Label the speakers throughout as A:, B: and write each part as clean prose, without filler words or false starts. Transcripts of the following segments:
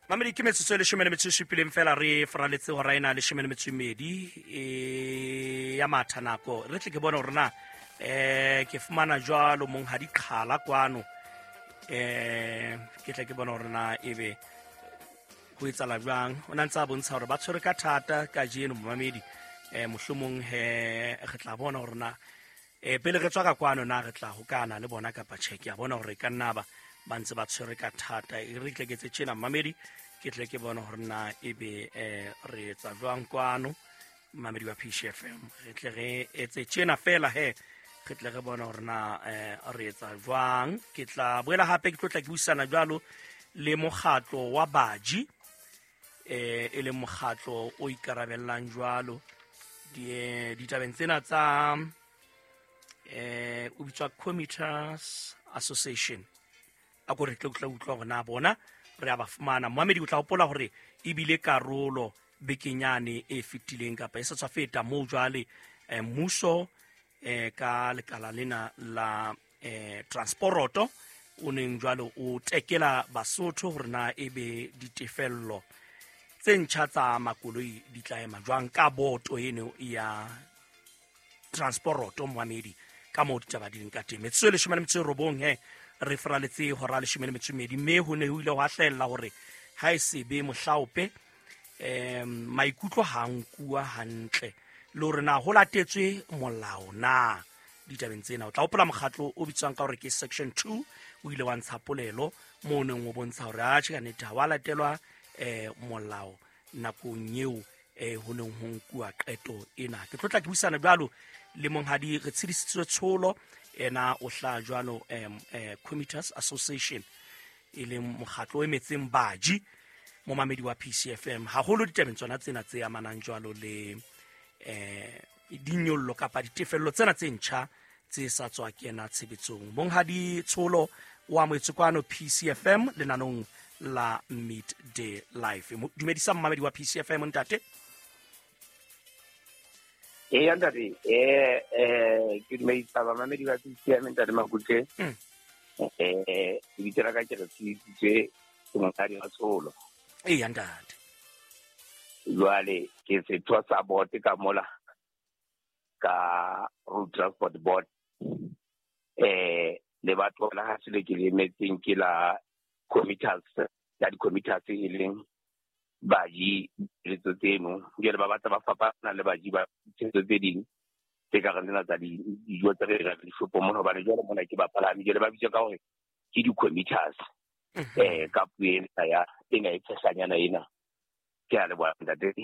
A: Mamedi, ke metsotso e 17 fela re faraletse hora ena 12 e ya matha nako. Re tle ke bone hore na ke fumana jwalo monghadi Qhala kwano. Ke tle ke bone hore na ebe ho etsahala jwang. O na ntse a bontsha hore ba tshwere ka thata kajeno momamedi. Mohlomong he re tla bona hore na pele re tswa ka kwano na re tla hokana le bona kapa tjhe. Ke a bona hore ka nna ba ba ntse ba tshwere ka thata. E re tle ke tse tjena mamedi, ke tle ke bone hore na ebe re etsa jwang kwano mamedi wa PCFM. Re tle re etse tjena fela he, re tle re bone hore na re etsa jwang. Ke tla boela hape ke tlo tla ke buisana jwalo le mokgatlo wa baji, e leng mokgatlo o ikarabellang jwalo ditabeng tsena tsa o bitswa Commuters Association. A ko re tle tla utlwa hore na bona re a ba fumana. Moamedi, o tla hopola hore ebile karolo bekenyane e fetileng kapa e sa tswa feta moo jwale mmuso ka lekala lena la transporoto o neng jwale o tekela Basotho hore na ebe ditefello tse ntjha tsa makoloi di tla ema jwang ka boto eno ya transporoto. Moamedi, ka moo ditaba di leng ka teng, metsotso e 19 he re faraletse hora 12, mme ho ne ho ile hwa hlahella hore ha e sebe mohlaope maikutlo ha nkuwa hantle le hore na ho latetswe molao na ditabeng tsena. O tla hopola mokgatlo o bitswang ka hore ke Section 2 o ile wa ntsha polelo moo o neng o bontsha hore atjhe ka nnete ha wa latelwa molao nakong eo ho neng ho nkuwa qeto ena. Ke tlo tla ke buisana jwalo le monghadi re tshedisitswe tsholo ena o hla jwalo Commuters Association, e leng mokgatlo o emetseng baji momamedi wa PCFM, haholo ditabeng tsona tsena tse amanang jwalo le dinyollo kapa ditefello tsena tse ntjha tse sa tswa kena tshebetsong. Monghadi Tsholo wa moetse kwano PCFM lenanong la Midday Life. Dumedisa momamedi wa PCFM ntate.
B: Eya ntate, ke dumedisa bamamedi ba PCFM ntate Makutle. Lebitso la ka ke re tshedisitswe ke monghadi wa Tsholo.
A: Eya ntate.
B: Jwale ke setho sa board ka mola ka Road Transport Board. Le batho la ha se le ke le emetseng ke la commuters, ya di-commuters e leng baji letso tseno. Jwale ba batla ba fapana le baji ba tse ding tse ka reng tsena tsa dijo tse re rekang dishopong mona, hobane jwale mona ke bapalami, jwale ba bitswa ka hore ke di-commuters. Ka puo ena ya ena e tshehlanyana ena. Ke a leboha ntate.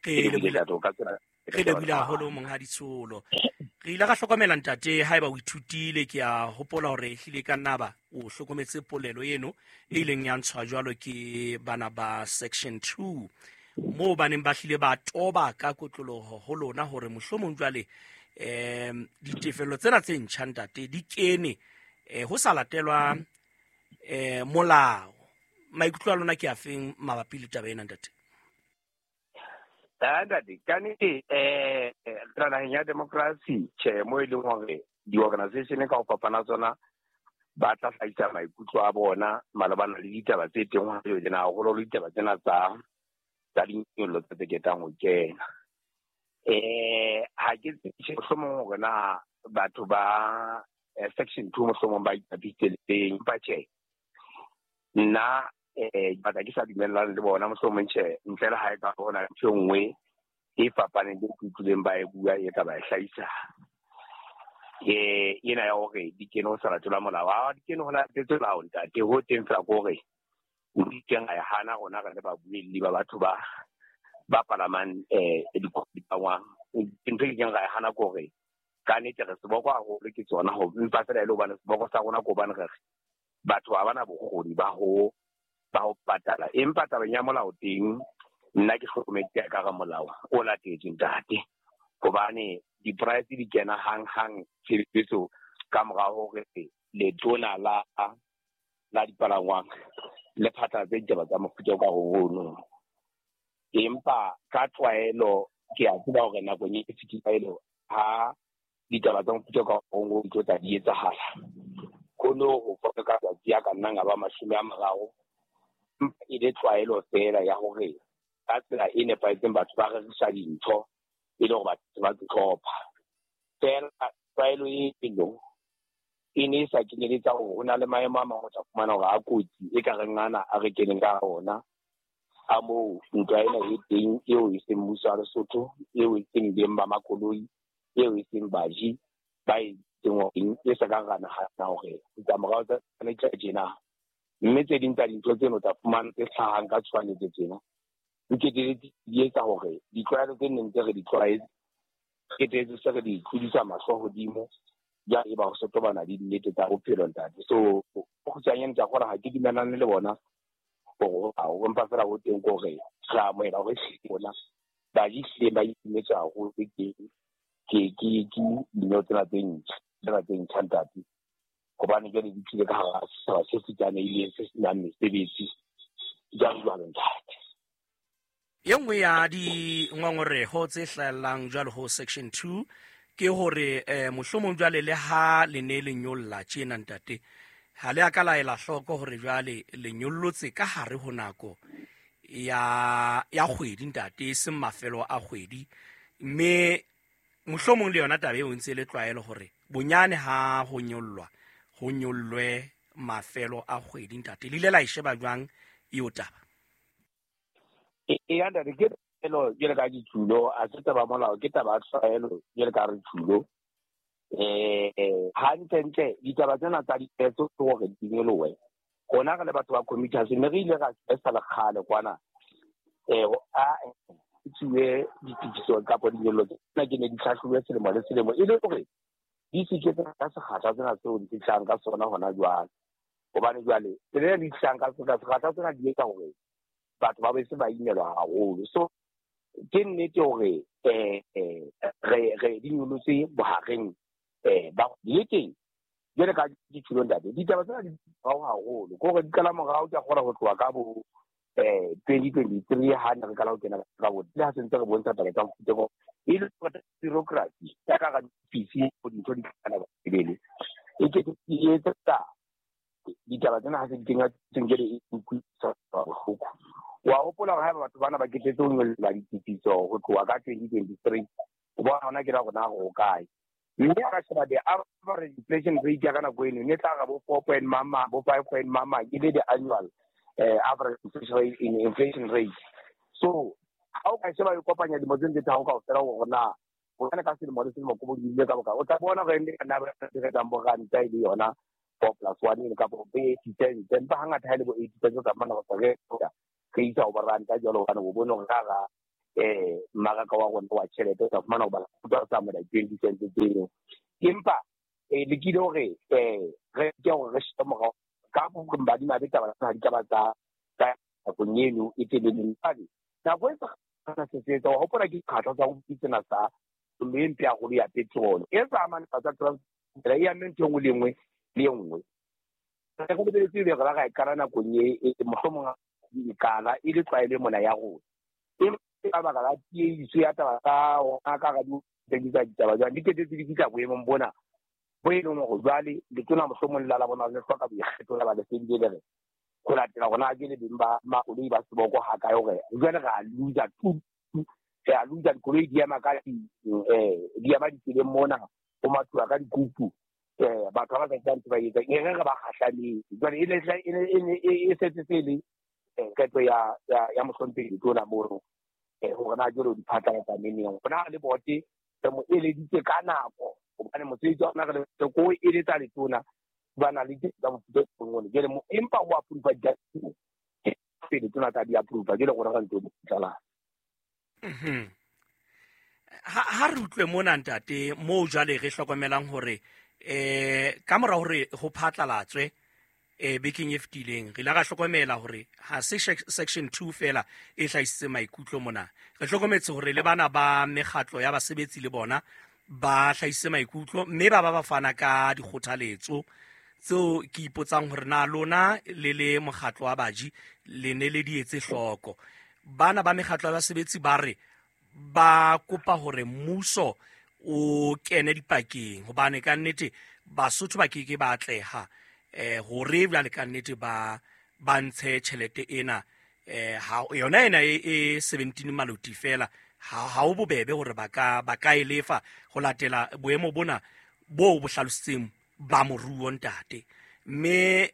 A: Re lebohile haholo monghadi Tsholo. Re ile ra hlokomela ntate, haeba o ithutile, ke a hopola hore ehlile ka nna ba o hlokometse polelo eno e ileng ya ntshwa jwalo ke bana ba Section 2, moo ba neng ba hlile ba toba ka kotloloho ho lona hore mohlomong jwale ditefello tsena tse ntjha ntate di kene ho sa latelwa molao. Maikutlo a lona ke a feng mabapi le taba ena ntate?
B: Ntate, ka nnete re naheng ya democracy, tjhe, mo e leng hore di-organization ka ho fapana tsona ba tla hlahisa maikutlo a bona malebana le ditaba tse teng hona jwale tjena, haholo le ditaba tsena tsa dinyollo tse tse ketang ho kena. Ha ke tsebe mohlomong hore na batho ba Section 2 mohlomong ba ipapisitse le teng, empa tjhe, nna batla ke sa dumellane le bona mohlomong tjhe, ntle le ha e ka hona ntho e nngwe e fapaneng le ke utlwileng ba e bua e ka ba e hlahisa. Ena ya hore di kene ho sa latelwa molao, ha di kene ho latetswe molao ntate, ho teng fela ke hore nteng a e hana rona re le babuelli ba batho ba palamang dipalangwang. Ntho e keng ra e hana ke hore ka nnete re seboko haholo ke tsona, ho empa fela e le hobane seboko sa rona ke hobane re re batho ha bana bokgoni ba ho patala. Empa tabeng ya molao teng, nna ke hlokometse ka re molao o latetswe ntate, hobane di-price di kena hang-hang tshebetso ka mora hore letona la dipalangwang le phatlalatse ditaba tsa mofuta o ka ho ono. Empa ka tlwaelo ke a tseba hore nakong e fetileng ha ditaba tsa mofuta o ka ho di tlo tla di etsahala, ho no ho foka ka tsatsi a ka nnang a ba 30 E le tlwaelo fela ya hore ka tsela e nepahetseng batho ba rerisa dintho e le hore batho ba tlhopha. Fela tlwaelo eno e ne e sa kenyeletsa hore ho na le maemo a mang o tla fumana hore a kotsi e ka reng ana a re keneng ka ona a moo ntwa ena e teng eo e seng mmuso wa Lesotho, eo e seng beng ba makoloi, eo e seng baji ba e teng e sa ka ra nahana hore ditlamorao tsa tsona di tla tjena. Mme tse ding tsa dintho tseno tsa fumana tse hlahang ka tshohanyetso tsena di keteletse di etsa hore ditlwaelo tse neng tse re di tlwaetse keteletse se re di tlodisa mahlo hodimo jwale e ba ho sotobana le dinnete tsa bophelo ntate. So kgutshwanyane ke a kgona ha ke dumellane le bona hore ho empa fela ho teng ke hore re amohela hore rona baji hlileng ba itumetse haholo ke dineo tsena tse ntjha ntate, hobane jwale di tlile ka hara setjhaba se futsanehileng se senang mesebetsi jwalo jwalo ntate.
A: E nngwe ya dingongoreho tse hlahellang jwalo ho section 2 ke hore mohlomong jwale le ha le ne le nyolla tjena ntate, ha le a ka la ela hloko hore jwale le nyollotse ka hare ho nako ya kgwedi ntate, e seng mafelo a kgwedi. Mme mohlomong le yona taba eo ntse le tlwaelo hore bonyane ha ho nyollwa ho nyollwe mafelo a kgwedi ntate. Le ile la e sheba jwang eo taba?
B: E ntate ke tlwaelo jwale ka dithulo, a se taba molao, ke taba ya tlwaelo jwale ka re thulo. Hantlentle ditaba tsena tsa diphetso ke hore di nyolohe. Rona re le batho ba commuters mme re ile ra sa le kgale kwana a tsuwe ditifiso kapa dinyollo tsena ke ne di hlahlobuwe selemo le selemo e le hore di se ke tsa sekgahla sena seo di fihlang ka sona hona jwale. Hobane jwale tsela e di fihlang ka sona sekgahla sena di etsa hore batho ba be se ba imelwa haholo. So ke nnete hore re di nyolotse bohareng ba le teng jwale ka dithulo ntate. Ditaba tsena di morao haholo ke hore di qala morao ke a kgona ho tloha ka bo 2023 ha ne re qala ho kena ka bo le ha se ntse re bontsha taba tsa mofuta o e le bureaucracy ya ka ga difisi dintho di tlana ba pele e ke e etsa ditaba tsena ha se di kenya tsengele e utlwisa bohloko. Wa hopola hore haeba batho bana ba ketetse ho nyolla ditifiso ho tloha ka 2023 o bona hona ke ra rona ho kae. Mme a ka sheba the average inflation rate ya ka nako eno ne tla ga bo 4 point mama bo 5 point mama ke le the annual average inflation rate in inflation rate. So ha o ka sheba e kopanya dilemo tse tse tharo kaofela hore na bonyane ka selemo le selemo ko bo ile ka boka o tla bona hore ne na ba re tsang bo ranta e le yona 4 plus 1 e kapa bo 80 cents, empa hangata ha e le bo 80 cents ka mana go re re isa ho ranta jwalo hobane o bone hore ka ga mmaraka wa rona wa tjhelete o tla fumana hore ba tsa mo 20 cents tseo. Empa lekile hore re ke hore re shebe morao ka badimabe taba tsena di ka ba tsa nakong eno e telele. Nako e sa se etsa wa hopola ke dikgatlha tsa ho tsena tsa le e mpe haholo ya petrol e sa amane tsa transport e amme ntho e nngwe le nngwe le e nngwe. Re go lebeletse be re ra e qala nakong e mohlomong e qala e le tlwaelo mona ya rona. E ka baka la tiehiso ya taba tsa rona ka ga di rekisa ditaba jwang di ketetse di fihla boemong bona bo e leng hore jwale letona mohlomong la bona le hloka boikgetho la ba le fedile le re ho latela rona ke le beng ba makoloi ba seboko ha kae hore jwale re a loser tu re a loser dikoloi di ema ka di ema ditseleng mona ho mathuwa ka dikupu batho ba sa tsang ba etsa e re re ba kgahlametse jwale e setse se le qeto ya mohlomphehi letona mono hore na jwale o di phatlalatsa neneng. Rona le bote re mo eleditse ka nako hobane mosebetsi wa rona re le ko eletsa letona ba na le tsa mofuta o mongwe jwale empa ho approve di pele tsona tsa di approve jwale rona re ntse di phatlalatsa.
A: Ha re utlwe mona ntate moo jwale re hlokomelang hore ka mora hore ho phatlalatswe bekeng e fetileng re ile ra hlokomela hore ha se section 2 fela e hlahisitse maikutlo mona. Re hlokometse hore le bana ba mekgatlo ya basebetsi le bona ba hlahisitse maikutlo mme ba fana ka dikgothaletso tseo ke ipotsang hore na lona le le mokgatlo wa baji le ne le di etse hloko. Bana ba mekgatlo ya basebetsi ba re ba kopa hore mmuso o kene dipakeng hobane ka nnete Basotho ba keke ba atleha hore jwale ka nnete ba ba ntshe tjhelete ena ha yona ena e 17 maloti fela ha o bobebe hore ba ka e lefa ho latela boemo bona bo bo hlalositseng ba moruo ntate. Mme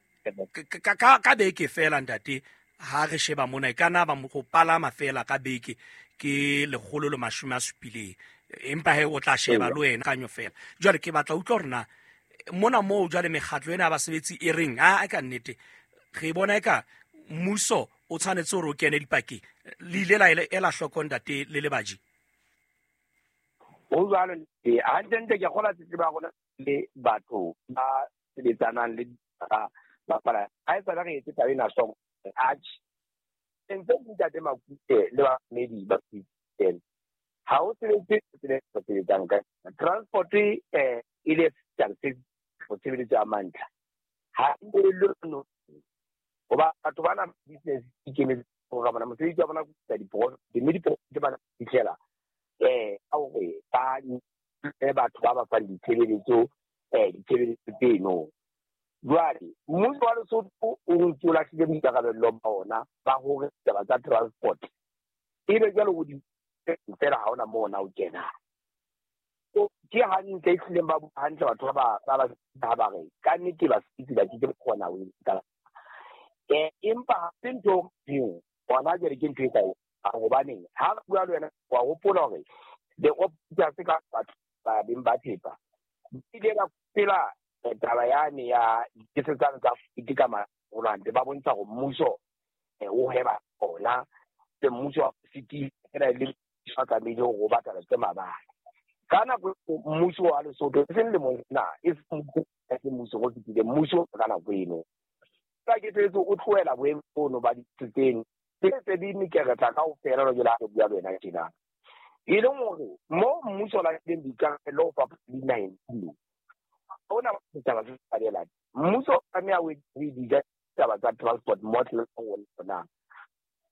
A: ka beke fela ntate ha re sheba mona e kana ba go palama fela ka beke ke 170, empa he o tla sheba le wena kanyo fela. Jwale ke batla utlwa hore na mona moo jwale mekgatlo ena ya basebetsi e reng a ka nnete re bona eka mmuso o tshwanetse hore o kene dipakeng. Le ile la ela hloko ntate le lebaji?
B: Ho jwalo hantle ke kgola tletlebo ya rona le batho ba sebetsanang le ba pala ha e tsana re etse taba ena hloko atjhe ntse ntate Makute le bamedi ba tsena ha o sebetse tsela e sebetsang ka transport e le go tshebeletso ya mantlha ha e le hoba batho bana business ikemetse go bona mosebetsi wa bona go diprofit mme diprofit ba fitlhela ka hore ba batho ba ba fang ditshebeletso ditshebeletso tseno. Jwale mmuso wa Lesotho o ntse o lahlile boikarabello ba ona ba hore taba tsa transport ebe jwale ho di fela ha ona moo ona o kenang. Ke hantle e hlileng ba bua hantle batho ba ba re ka nnete basebetsi ba ke kgona ho etsa empa ha se ntho eo hona jwale ke ntho e ka hobaneng ha re bua le wena wa hopola hore the operators ka batho ba beng ba thepa ile ba pela taba yane ya diketsetsano tsa fiti ka maholo ba bontsha hore mmuso o heba ona le mmuso wa city ena le sa tlamehile hore o batla tse mabala. Ka nako mmuso wa Lesotho e seng lemong sena e seng mmuso o fetile mmuso ka nako eno ka ke tsetse o tlohela boemo bono ba ditseng tse di mekeretla kaofela jwale ha re bua le wena tjena. E leng hore mo mmuso o lahlileng boikarabelo ho fapana le dinaheng tseno ona ditaba tse tshwanelang mmuso o tlameha o etse ditaba tsa transport model rona.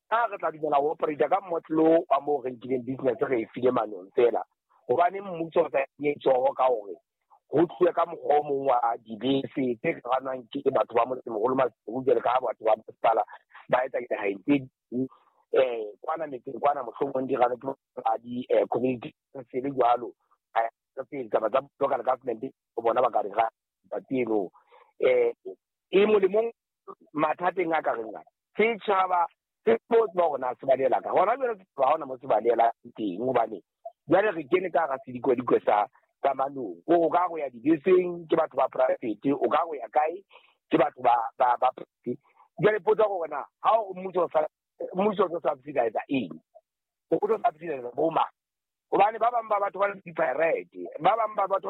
B: Ha re tla dumela ho operate ka model wa moo re nkileng business re e file manong fela hobane mmuso o sa etsoho ka hore ho tluwe ka mokgwa o mong wa dibese tse ranwang ke batho ba motsemoholo Maseru jwale ka ha batho ba masepala ba etsa dinaheng tse ding kwana metseng kwana mohlomong di ranwe ke ba di-community council jwalo ditaba tsa local government bona ba ka re ga eno e molemong mathateng a ka reng ana setjhaba se tlo tseba hore na se balela ka hona jwale ha hona mo se balela teng hobane jwale re kene ka hara sedikwadikwe sa manong. O ka go ya dibeseng ke batho ba private, o ka go ya kae ke batho ba private. Jwale potsa hore na ha o mmuso o subsidize eng, o tlo subsidize bo mang? Hobane ba bang ba batho ba le di-pirate, ba bang ba batho